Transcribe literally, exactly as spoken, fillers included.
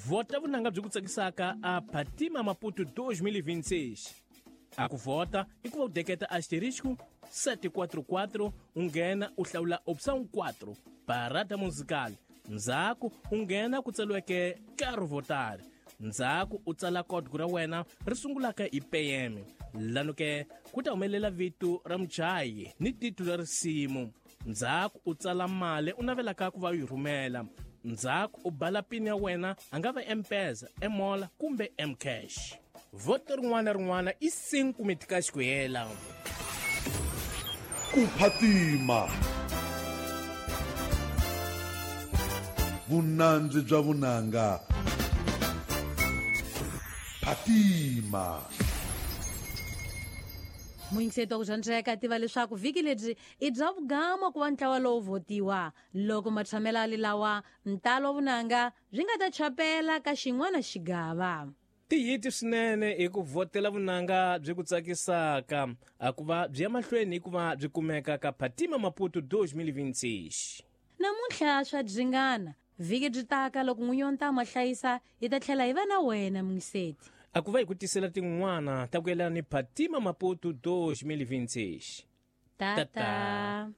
Vhota vunanga byi ku tsakisaka a Phatima Maputo twenty twenty-six. A ku vhota i ku va u deketa asterisco sete quatro quatro u nghena u hlawula opção quatro parada musical. Ndzhaku u nghena ku tsariweke Quero votar. Ndzhaku u tsala código ra wena ri sungulaka hi P M. Lano ke ku ta humelela vito ra muchayi ni titulo ra risimu. Ndzhaku u tsala mali u navelaka ku va u yi rhumela. Ndzhaku u bala pin ya wena a nga va M-Pesa, M-Mola kumbe M-Cash. Voto rin'wana na rin'wana i cinco meticais ku hela. Ku phatima. Vunandzi bya vunanga. Phatima. Muyingiseti wa ku dyondzeka tiva leswaku vhiki lebyi i bya vugama ku va ntlawa lowu votiwa loko matshamelo lawa ntalo wa vunanga byi nga ta chapela ka xin'wana xigava. Tiyiti swinene hi ku vhotela vunanga byi ku tsakisaka a ku va byi ya mahlweni hikuva byi kumeka ka Phatima Maputo twenty twenty-six. Namuntlha swa dzingana vhiki byi taka loko n'winyi wa ntamu a hlayisa hi ta tlhela hi va na wena muyingiseti. A ku va hi ku tisela tin'wana ta ku yelana ni Phatima Maputo twenty twenty-six. Tata.